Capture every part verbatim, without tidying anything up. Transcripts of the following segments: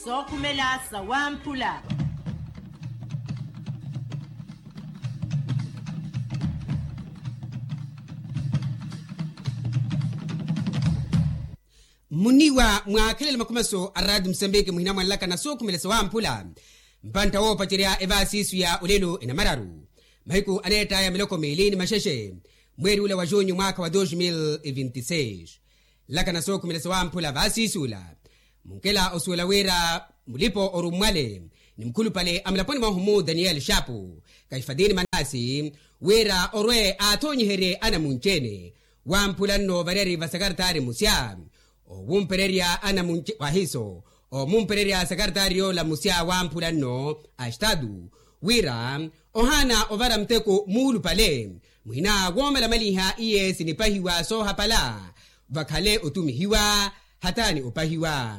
Sookhumela sawamphula. Mmuniiwa mwaakhelela makhumaso a raati musambiki muhina mwanlaka na sookhumela sawamphula. Mpantta woopacerya evaasiisu ya olelo enamararu mahiku aneett'aya miloko miili ni maxexe, mweeri ula wa junyu mwaakha wa dos mil e vinti seis. Nlaka na sookhumela sawamphula vaasiisuula. Munkela osuwela wira mulipo orummwale ni mukhulupale a mulaponi mwahu mu daniyeli xaapu, kahifatini manasi, wira orwe aathoonyiherye anamunci-ene wamphula nno variyari va sakaratari musya. Owumpererya anamunci wahiso omumpererya sakaratari yoola musya wamphula nno a estatu, wira ohaana ovara muteko muulupale muhina woomalamaliha iye sinipahiwa soohapala, vakhale otumihiwa hataani opahiwa.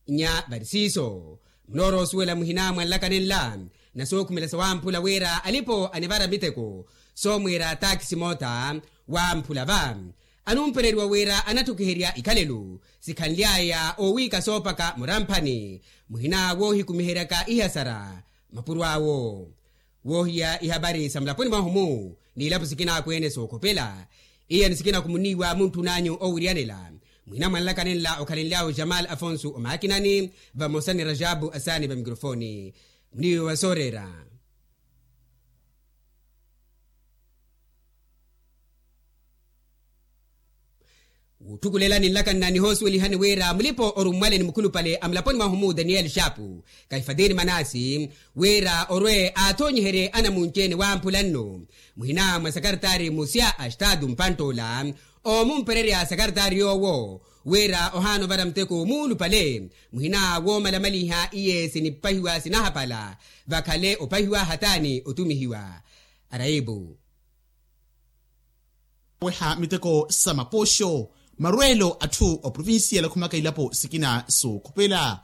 Nya vari siiso munoorosuwela muhina mwanlaka nenla na sookhumela sawamphula wira alipo anivara miteko soomwiira taakisi moota wamphula va anumpereriwa wira anattukiherya ikhalelo sikhanly'aya owiika soopaka muramphani muhina woohikumiheryaka ihasara mapuro awo. Woohiya ihabari sa mulaponi mwahu-mu n'ilapo sikina akweene sookhopela, iya ni sikina khumunn'iwa muntthun'anyu owiriyanela muhina mwanlaka nenla okhalenly'ahu jamal afonso omaakinani vamosa ni rajabu asaani va mikrofooni. Muniiwe wa sooreera. Wutthukulela ninlaka nna nihoosuwelihani wira mulipo orummwale ni mukhulupale a mulaponi mwahu-mu daniyeli xaapu, kahifatini manasi, wira orwe aathoonyiherye anamunci-ene wamphula nno muhina mwa sakaratari musya a estatu mpantt'ola omumpererya sakaratari yoowo, wira ohaana ovara muteko muulupale muhina woomalamaliha iye sinipahiwa sinahapala, vakhale opahiwa hataani otumihiwa. Araipu. Oweha miteko sa mapooxo marweelo atthu oprovinsiyela okhumaka ilapo sikina sookhupela,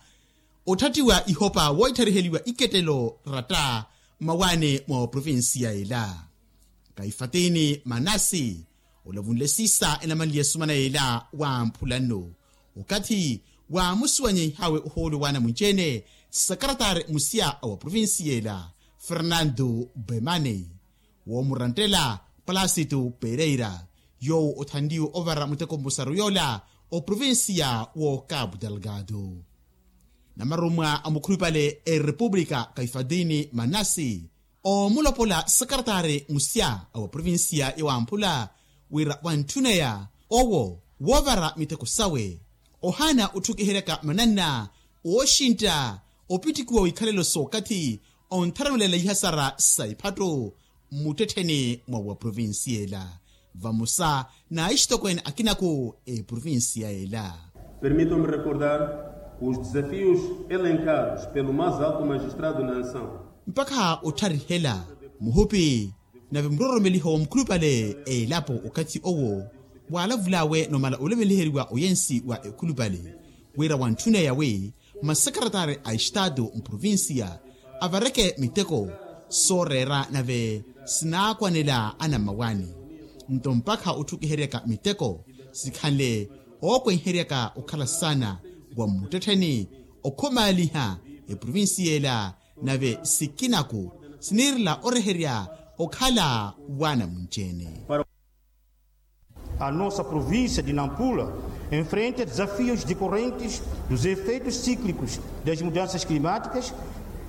otthattiwa ihopa wooithariheliwa ikettelo ratta mmawaani mwa oprovinsiyela. Kahifatini manasi olavunle siisa enamanliye sumana yeela wamphula nno okathi waamusuwanyeihawe ohoolo w'anamunci-ene sakaratari musya a wa provinsiyela fernando bemane, woomurantela palasito pereira yoowo othanliwe ovara muteko mmusaru yoola oprovinsiya w'okapu delgado. Namarummwa a mukhulupale erepupulika kahifatini manasi oomulopola sakaratari musya a wa provinsiya ya wamphula wira wantthuneya owo woovara miteko sawe ohaana otthukiheryaka mananna ooxintta opittikiwa w'ikhalelo s'okathi ontharamelela ihasara sa ephattu mmuttettheni mwa wa provinsiyela vamosa n'aixitokweene akinaku eprovinsiyela. Permitam-me recordar que os desafios elencados pelo mais alto magistrado na nação. Mpakha ottharihela muhupi nave muroromeliho wa mukhulupale elapo okathi owo waalavul'awe nomala olemeliheryiwa oyensi wa ekhulupale wira wantthuneya wi masakaratari a estatu mprovinsiya avareke miteko sooreera nave sinaakwanela anammawaani. Nto mpakha otthukiheryaka miteko sikhanle ookwenheryaka okhala saana wa mmuttettheni okhumaaliha eprovinsiyela nave sikinaku siniirela oreherya okhala w'anamunci-ene. A nossa província de Nampula enfrenta desafios decorrentes dos efeitos cíclicos das mudanças climáticas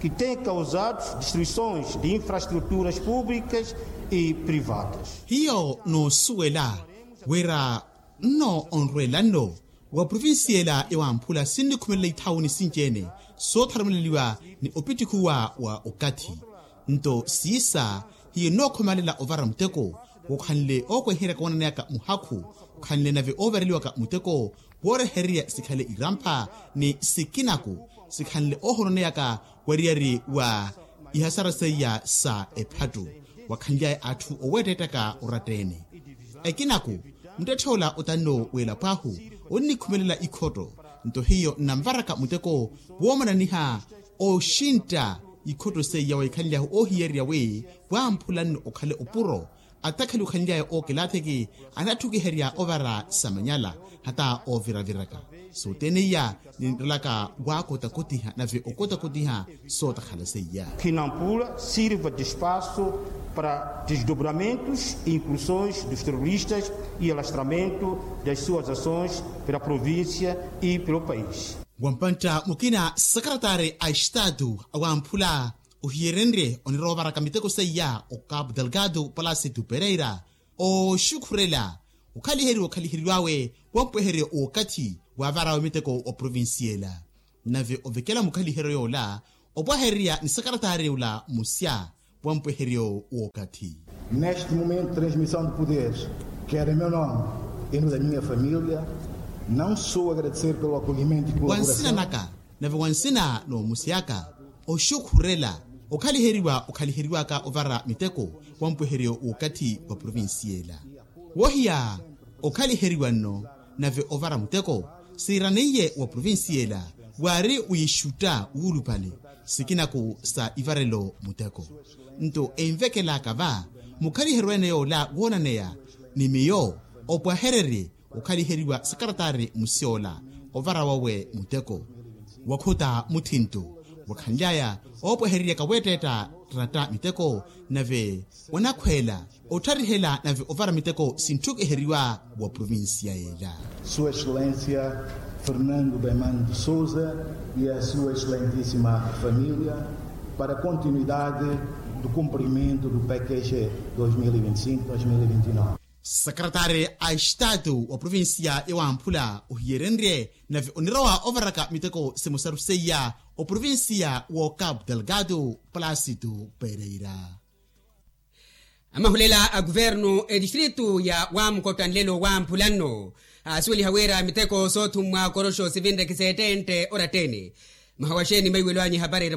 que têm causado destruições de infraestruturas públicas e privadas. Hiyo noosuwela wira nno onrweela nno wa provinsiyela ya wamphula sinnikhumelela ithawuni sinci-ene sootharumeleliwa ni opittikhuwa wa okathi. Nto siisa hiyo nnookhumaalela ovara muteko wookhanle ookweheryaka woonaneyaka muhakhu okhanle nave oovareliwaka muteko woorehererya sikhale irampha ni sikinaku sikhanle oohononeyaka wariyari wa ihasara seiya sa ephattu wakhanly'aya atthu oweettettaka oratta-ene. Ekinaku muttetthe ola otanno w'elapo ahu onnikhumelela ikhotto nto hiyo nnanvaraka muteko woomananiha ooxintta ikhotto seiya waikhanlyahu oohiyererya wi wamphula nno okhale opuro Attakhali okhanly'aya ookelatheki anatthukiherya ovara samanyala hata ooviraviraka. Sothene iya ninrelaka waakotakotiha nave okotakotiha sootakhala seiya. Kinampula sirva de espaço para desdobramentos e incursões dos terroristas e alastramento das suas ações pela província e pelo país. Wampantta mukina sakaratari a estatu awamphula ohiyerenrye onirovaraka miteko seiya o cabo delgado palasi tu pereira oxukhurela okhaliheriwa okhaliheriwawe wampweheryo wookathi wavarawe miteko wa provincia ela. Nave ovekela mukhaliheryo yoola opwahererya ni sakaratari ula musya wampweheryo wookathi. Neste momento de transmissão de poderes quero em meu nome e no da minha família não só agradecer pelo acolhimento e colaboração. Wansina naka nave wansina n'omusi aka oxukhurela okhaliheriwa okhaliheriwaka ovara miteko wampweheryo w'okathi wa provincia ela. Wohiya okhaliheriwa nno nave ovara muteko siiraneiye wa provincia ela waari wiixutta wuulupale sikinaku sa ivarelo muteko. Nto envekelaka va mukhaliheryo ene yoola woonaneya ni miyo opwahererye okhaliheriwa sakaratari musyola ovara wawe muteko wakhuta muthinto wakhanly'aya oopwehereryaka weetteetta ratta miteko nave wanakhweela ottharihela nave ovara miteko sintthukuheriwa wa provincia ela. Sua excelência fernando bemano de sousa e a sua excelentíssima família para a continuidade do cumprimento do pkg dois mil e vinte e cinco dois mil e vinte e nove. Sakaratari a estatu wa provincia ya wamphula ohiyerenrye nave onirowa ovaraka miteko simosaru seiya o provincia wo cabo delgado palasi tu pereira. Amahulela a kuvernu etistritu ya wamukotta nlelo wamphula nno aasuweliha wira miteko soothummwa koroxo sivinre kiseettentte orattene. Mwaha wa xeeni maiwelo anyu ehaparerya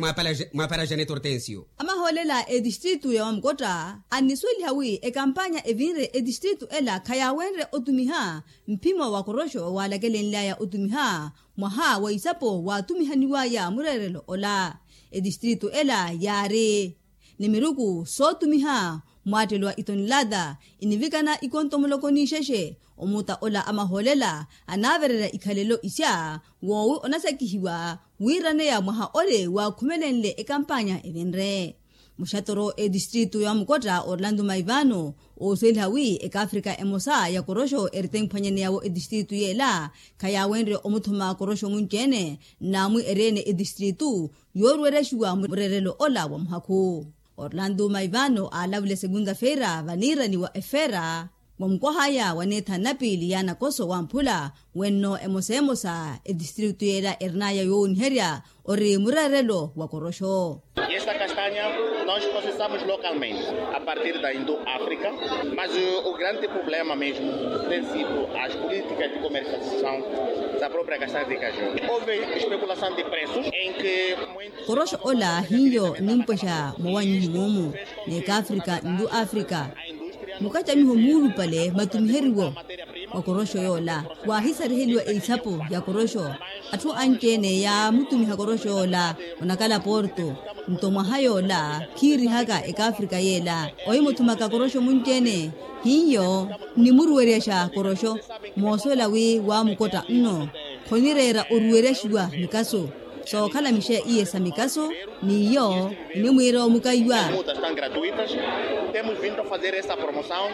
mwaapara janet hortensio. Amahoolela etistritu ya wamukotta annisuweliha wi ekampanya evinre etistritu ela khayawenre otumiha mphimo wa koroxo waalakelenly'aya otumiha mwaha wa isapo waatumihaniw'aya mureerelo ola. Etistritu ela yaari ni miruku sootumiha mwaattelo wa itonilata inivikana ikonto muloko n'ixexe. Omuta ola amahoolela anaavererya ikhalelo isya woowi onasakihiwa wiiraneya mwaha ole waakhumelenle ekampanya evinre. Muxatoro etistritu ya wamukotta orlando maivano oosuweliha wi ekaafrika emosa ya koroxo ertemphwanyaneya-wo etistritu yeela khayawenrye omuthuma koroxo munci-ene nnaamwi eri-ene etistritu yooruweryaxiwa mureerelo ola wa muhakhu. Orlando maivano aalavule segunda-feira vaniirani wa efera wa mukwah'aya waneetha nnapiili ya nakoso wamphula wenno emosa emosa etistritu yeela erin'aya yoowoniherya ori mureerelo wa koroxo. Esta castanha nós processamos localmente a partir da indo africa, mas o grande problema mesmo tem sido as políticas de comercialização da própria castanha de caju. Houve especulação de preços em que muitos koroxo ola hiyo nimpwexa mowannyiho muumu n'ekaafrika nlu afrika mukacamiho muulupale matumiheriwo wa koroxo yoola. Waahisariheliwa eisapo ya koroxo atthu anci-ene yaamutumiha koroxo yoola onakala porto. Nto mwaha yoola khiirihaka ekaafrika yeela ohimuthumaka koroxo munci-ene hiyo nimuruweryaxa koroxo moosuwela wi waamukotta nno khonireera oruweryaxiwa mikaso sookhala mixe iye sa mikaso n'iyo enimwiira omukaiwa. Temos vindo a fazer essa promoção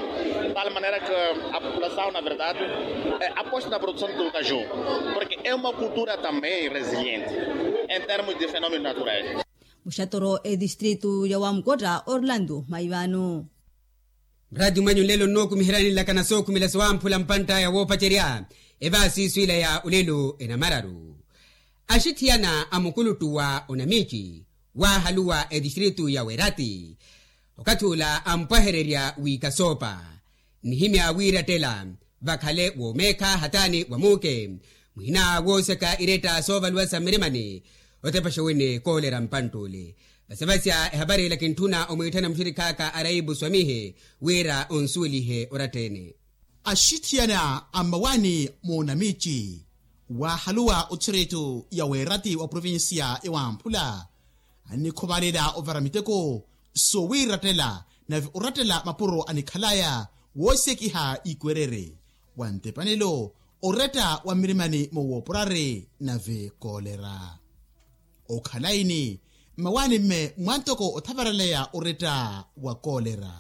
de tal maneira que a população na verdade aposta na produção do caju, porque é uma cultura também resiliente em termos de fenômenos naturais. Muxatoro etistritu ya wamukotta orlando maivano. Muraati mwanyu nlelo nnookumiheryani nlakana sookhumela sowamphula mpantt'aya woopacerya evaasi iswiila ya olelo enamararu. Axithiyana a mukuluttu wa onamici waahaluwa etistritu ya werati okathi ula ampwahererya wiikasoopa nnihimya wiirattela vakhale woomeekha hataani wa muuke muhina wooseka iretta soovaluwa sa mmirimani. Otepaxa wene koolera mpantt'ule vasevasya ehapari ila kintthuna omwiitthana muxirikh'aka araipu swamihe wira onsuwelihe oratta-ene. Axithiyana a mmawaani moonamici waahaluwa othiritu ya weeratti wa provincia ewamphula annikhuvalela ovara miteko sowiirattela Nave orattela mapuro anikhalaya woosekiha ikwerere wa ntepanelo oretta wa mmirimani mowoopurari nave koolera. Okhala ini mmawaani mme mwantoko othavaraleya oretta wa koolera.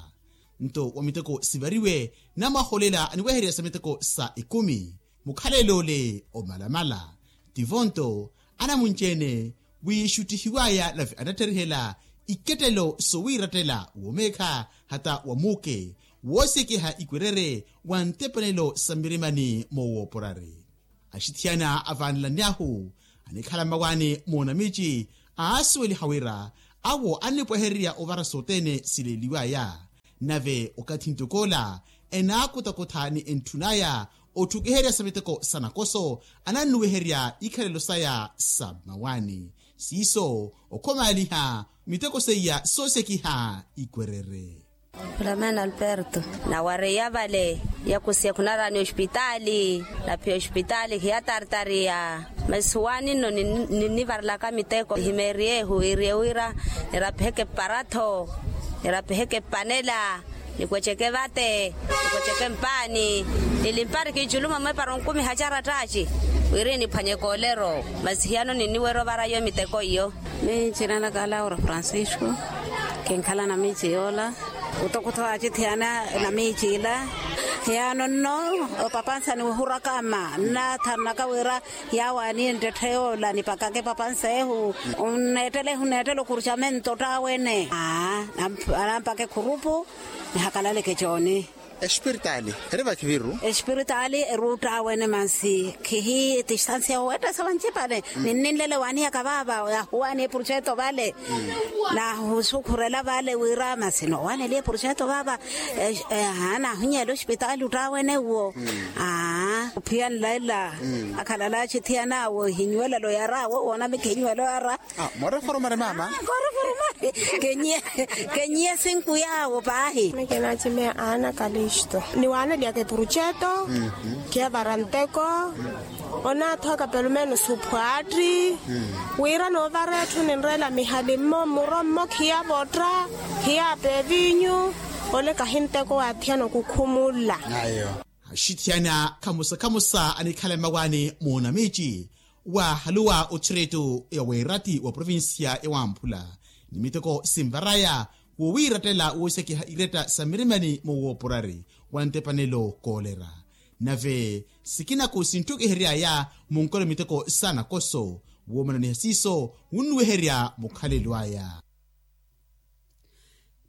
Nto wa miteko sivariwe namwahoolela aniweherya sa miteko sa ekumi mukhalelo ole omalamala. Tivo nto anamunci-ene wiixuttihiwaya nave anatterihela ikettelo sowiirattela womeekha hata wa muuke woosekiha ikwerere wa ntepanelo sa mmirimani mowoopurari. Axithiyana avaanelani ahu anikhala mmawaani moonamiici aasuweliha wira awo annipwehererya ovara sothene sileeliwaya. Nave okathi ntok'ola enaakutakutha ni entthun'aya otthukiherya sa miteko sa nakoso anannuweherya ikhalelo saya sa mmawaani. Siiso okhomaaliha miteko seiya soosekiha ikwerere. Filamena alberto. Nawareiya vale yakusiya khunaraani ospitaali naphiya ospitaali khiyatartariya. Masi waani nno ninnivarelaka miteko himeeriyehu wiriye wira nirapiheke mparatho nirapiheke mpanela nikweceke vate nikweceke mpaani. Nilimpari kiiculumo mwepara onkumiha carattaci wiri niphwanye koolero. Masi hiyano ninniwerya ovara iyo miteko iyo. Miicina naka laura francisco. Kinkhala na miici yoola. Kutokutho acithiyana na miici ila. Hiyano nno opapansa niwihuraka mma nnathanaka wira yawo aniye nttette yoola nipakake epapansa ehu. Nneettele ehu nneettele okurcamento ttaawene aa. Anampaka ekhurupu nihakalaleke cooni. Espiritaali eri vakhiviru. Espiritaali eri uttaawene masi khihi tistansiya owettesa vancipale. Ninninlele waaniyaka vaava yahuwaani eproceto vale nahusukhurela vale wira masi noowaneliye eproceto vaava. Naahunyeela ospitaali ottaawene uwo. Aa ophiya nlaila akhalala achithiyana awo ehinyuwelelo yara awo woona mikhinyuwelo yara. Moreforomari mama. Koreforomari. Kenyiye sinku yaawo paahi. Mekenacime ana kalisto niwaneliyaka epurutxeto. Khiyavara nteko onathoka pelumenos uphwaatti. Wira noovara etthu ninreela mihali mmo mmuro mmo khiyavotta khiyapa evinyu. Ole kahi nteko waathiyana okukhumulla. Axithiyana khamusa khamusa anikhala mmawaani moonamiici waahaluwa othireto ya weeratti wa provincia ya wamphula ni miteko sinvaraya wowiirattela woosekiha iretta sa mmirimani mowoopurari wa ntepanelo koolera. Nave sikinaku sintthukiheryaya munkolo miteko sa nakoso woomananiha siiso wunnuweherya mukhalelo aya.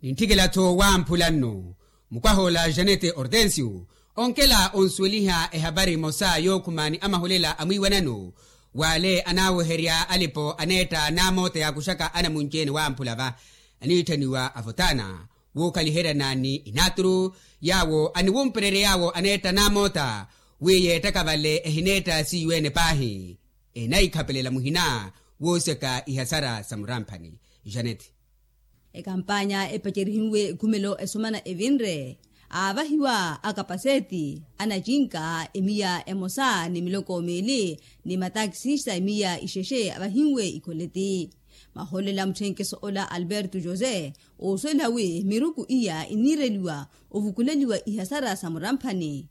Nintthikela-tho wamphula nno mukwahoola janete hortensio onkela onsuweliha ehapari emosa yookhuma ni amaholela amwiiwanano w'ale anaaweherya alipo aneetta n'amoota yaakuxaka anamunci-ene wamphula va aniitthaniwa avotana wookhaliheryana ni inaaturu yaawo aniwumpererya yaawo aneetta n'amoota wi yeettaka vale ehineetta siiwe-ene paahi. Enahikhapelela muhina wooseka ihasara sa muramphani. Janete. Ekampanya epacerihiwe ekhumelo esomana evinre aavahiwa akapaseti anacinka emiya emosa ni miloko miili ni matakisista emiya ixexe avahiwe ikholeti. Mahoolela mutthenkeso ola alberto jose oosuweliha wi miruku iya iniireliwa ovukuleliwa ihasara sa muramphani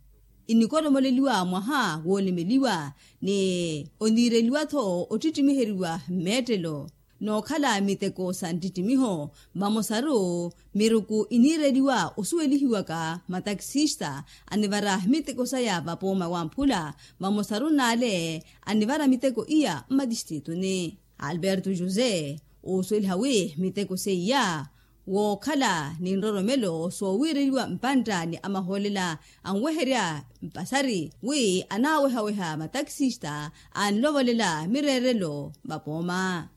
inikoromoleliwa mwaha woolemeliwa ni oniireliwa-tho ottittimiheriwa mmeettelo nookhala miteko sa nttittimiho. Vamosaru miruku iniireliwa osuwelihiwaka matakisista anivara miteko saya vapooma wamphula vamosaru n'ale anivara miteko iya mmatistrituni. Alberto jose oosuweliha wi miteko seiya wookhala ni nroromelo soowiireliwa mpantta ni amahoolela anweherya mpasari wi anaawehaweha matakisista anlovolela mireerelo vapooma.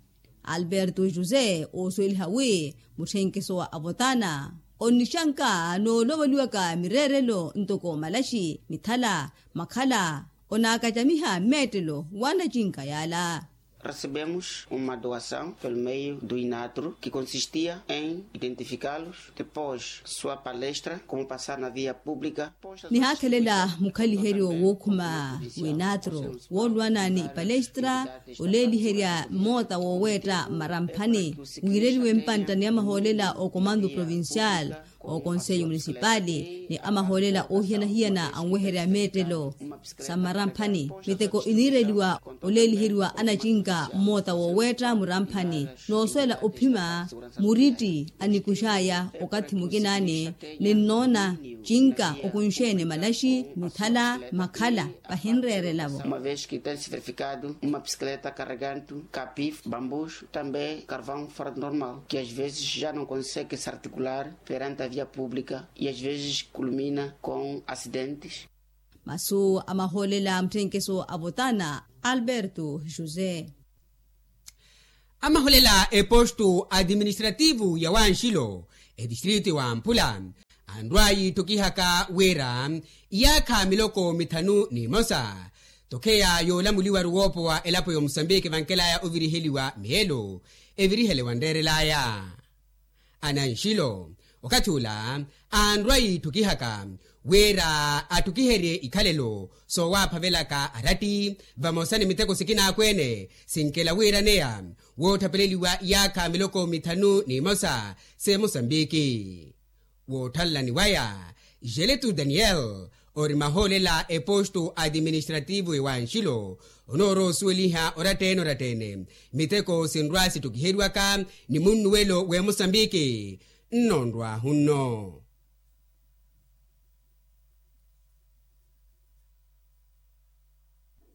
Alberto jose oosuweliha wi mutthenkeso wa avotana onnixanka noolovoliwaka mireerelo ntoko malaxi mithala makhala onaakacamiha mmeettelo w'anacinka yaala. Recebemos uma doação pelo meio do inatru que consistia em identificá-los depois sua palestra como passar na via pública. Nihaathelela mukhaliheryo wookhuma w'inatru woolwana ni ipalestra oleeliherya mmoota wooweetta mmaramphani wiireliwe mpantta ni amahoolela okomando provincial okonseyo munisipaali ni amahoolela oohiyana-hiyana anweherya meettelo sa mmaramphani. Miteko iniireliwa oleeliheriwa anacinka mmoota wooweetta muramphani, noosuwela ophima muritti anikux'aya okathi mukinaani. Ninnoona cinka okunxeene malaxi, mithala, makhala, vahinreerela-vo. Uma vez que tem se verificado uma bicicleta carregando capif bambus também carvão fora do normal que às vezes já não consegue se articular perante a via pública e às vezes culmina com acidentes. Masu a mahoolela a mutthenkeso a votana alberto josé. Amahoolela epostu administrativu ya wanxilo, etistritu ya wamphula, anrwa yiitthukihaka wira iyaakha miloko mithanu n'imosa tokheya yoolamuliwaru woopowa elapo ya omusambiki vankelaya oviriheliwa meelo evirihele wanreerelaya. Ananxilo okathi ula anrwa yiitthukihaka wira atthukiherye ikhalelo soowaphavelaka aratti vamosa ni miteko sikinakweene sinkela wiiraneya woottapeleliwa iyaakha miloko mithanu n'imosa s'emosambiki. Woothanlani waya jeletu daniel ori mahoolela epostu administrativu ewanxilo onooroosuweliha orattene orattene miteko sinrwa sittukiheriwaka ni munnuwelo w'emosambiki. Nnonrwahunno.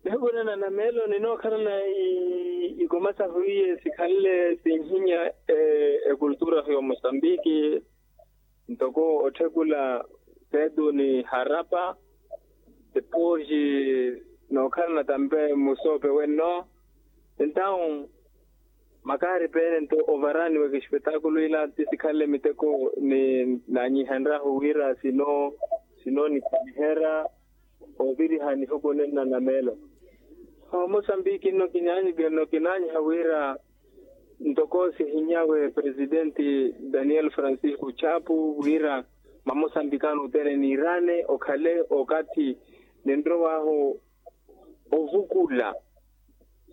Nihukunana na meelo ninookhalana ikoma sahu iye sikhanle sinhinya ekultura ya omosambiki ntoko otthekula setu ni harapa depois nookhalana tampe musoope wenno. Entawu makaari peene nto ovarani wa kexpetakulu ila ti sikhanle miteko ni naanyihenryahu wira sino sino nikhwaniherya oviriha nihukunenna na meelo. Omosambiki nno kinaanyiha wira ntoko sihinyawe presidenti daniel francisco chapu wira mamosambikano othene niirane okhale okathi ninrowaahu ovukula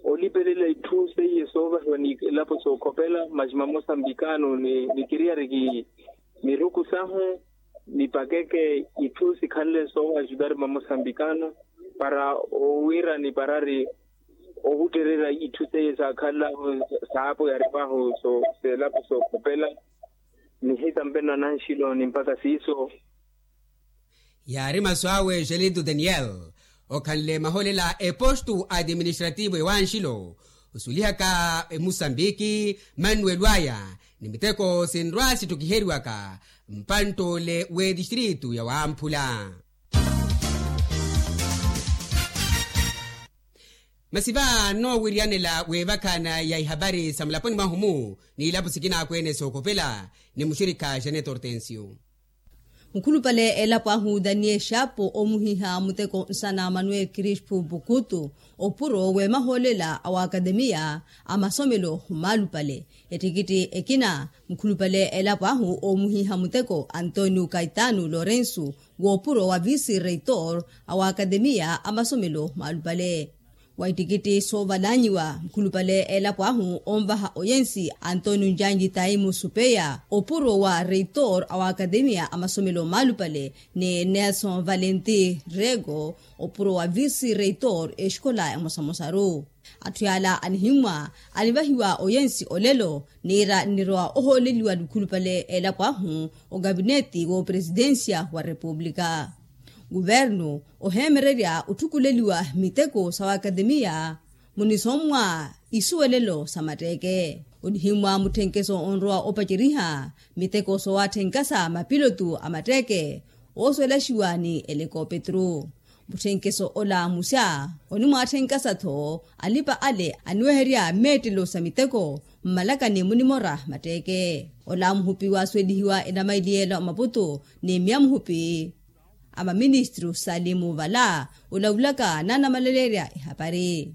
olipelela itthu seiye soovahiwa ni elapo sookhopela masi mamosambikano ni kiriyari ki miruku sahu nipakeke itthu sikhanle soowa ajudari mamosambikano para owira niparari owuttererya itthu seiye saakhanlahu saapo yaripahu selapo sookhopela. Nihita mpeno ananxilo ni mpakha siiso. Yaari masu awe jelitu daniel okhanle mahoolela epostu administrativu ewanxilo osulihaka emusambiki mannuwelo aya ni miteko sinrwa sittukiheriwaka mpantt'ole w'etistritu ya wamphula. Masi va nnoowiriyanela w'evakhana ya ihapari sa mulaponi mwahu-mu n'ilapo sikinakweene sookhopela ni muxirikha janet hortensio. Mukhulupale elapo ahu daniel xapo omuhiha muteko nsana manuel crispo bukutu opuro w'emahoolela a waakatemiya a masomelo maalupale. Ettikitti ekina mukhulupale elapo ahu omuhiha muteko antonio caetano lorenso w'opuro wa visi reitor a waakatemiya a masomelo maalupale. Wa ittikitti soovalanyiwa mukhulupale elapo ahu onvaha oyensi antonio njanji taimu supeya opuro wa reitor a waakatemiya a masomelo maalupale ni nelson valenti rego opuro wa visi reitor exikola emosamosaru. Atthu yaala anihimmwa anivahiwa oyensi olelo niira nnirowa ohooleliwa ni mukhulupale elapo ahu okapinetti w'opresidensiya wa repupulika. Kuvernu oheemererya otthukuleliwa miteko sa waakatemiya munisommwa isuwelelo sa matteeke onihimmwa mutthenkeso onrowa opaceriha miteko soowatthenka sa mapilotu a matteeke oosuwelaxiwa ni elekopetru. Mutthenkeso ola musya onimwatthenka sa-tho alipa ale aniweherya meettelo sa miteko mmalakani munimora matteeke. Ola muhupi waasuwelihiwa enamaili yeela omaputu ni mmiya muhupi a maministru salimu vala olavulaka naanamalaleerya ehapari.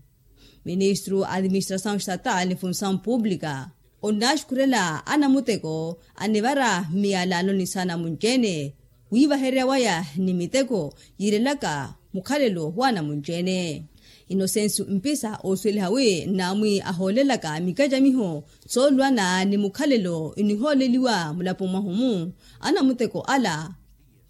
Ministru a administrasawu estatal ni funsawu publika onnaxukhurela anamuteko anivara mmiyalano ni saana munci-ene wiivahererya waya ni miteko yiirelaka mukhalelo w'anamunci-ene. Inosensu mpisa oosuweliha wi nnaamwi ahoolelaka mikacamiho soolwana ni mukhalelo inihooleliwa mulapo mwahu-mu, anamuteko ala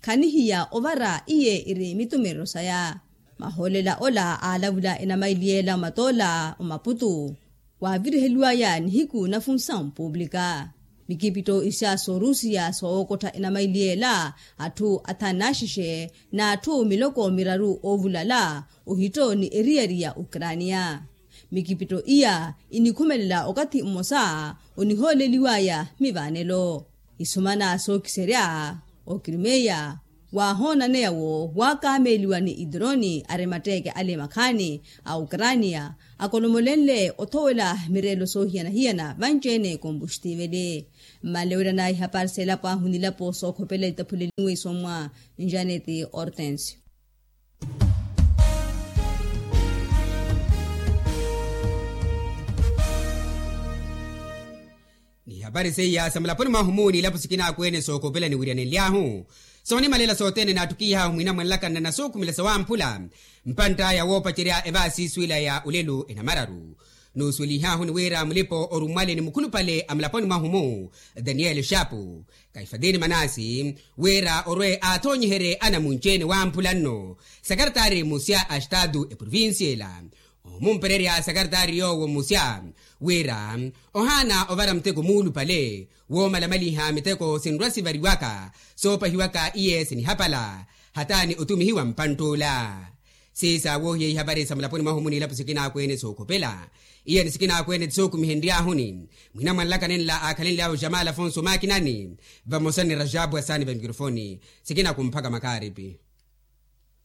khanihiya ovara iye iri mitumerero saya. Mahoolela ola aalavula enamaili yeela omatoola omaputu, waaviriheliwaya nihiku na funsawu puuplika. Mikipitto ixya soorusiya soowokottha enamaili yeela, atthu athanu n'axexe n'atthu miloko miraru oovulala ohitto ni eriyari ya ukraniya. Mikipitto iya inikhumelela okathi mmosa onihooleliwaya mivaanelo. Isumana sookiserya okrimeya waahoonaneya wo waakameeliwa ni idroni ari matteeke ale makhaani a ukraniya, akolomolenle othowela mireelo soohiyana-hiyana vanci-ene kompuxtiveli. Mmalewelana ihapari s'elapo ahu nilapo sookhopela itaphuleliwe isommwa njaneti ortensio. N'ihapari seiya sa mulaponi mwahu-mu n'ilapo sikinaakweene sookopela niwiryanenly'ahu soonimalela sothene naattukih'ahu mwinamwanlaka nnanasuukhumela sawamphula. Mpantt'aya woopacerya evaasi suwila ya olelo enamararu, nuusuwelih'ahu ni wira mulipa orummwale ni mukhulupale a mulaponi mwahu-mu, daniel shapu, kaifatini manasi, wira orwe aathoonyiherye anamunci-ene wamphula nno sakaratari musya a estatu eprovincia ela, omumpererya sakaratari yoowo musya wira ohaana ovara muteko muulupale woomalamaliha miteko sinrwa-sivariwaka soopahiwaka iye sinihapala hata ni otumihiwa mpantt'ula. Siisa woohiya ihavari sa mulaponi mwahu-mu n'ilapo sikinaakweene sookhopela, iye ni sikinaakweene ti sookumihenry'ahuni mwinamwanlaka nenla aakhalenly'awe jamal afonso makinani, vamosa ni rajabu asaani va mikrofoni. Sikinakumphaka makaaripi.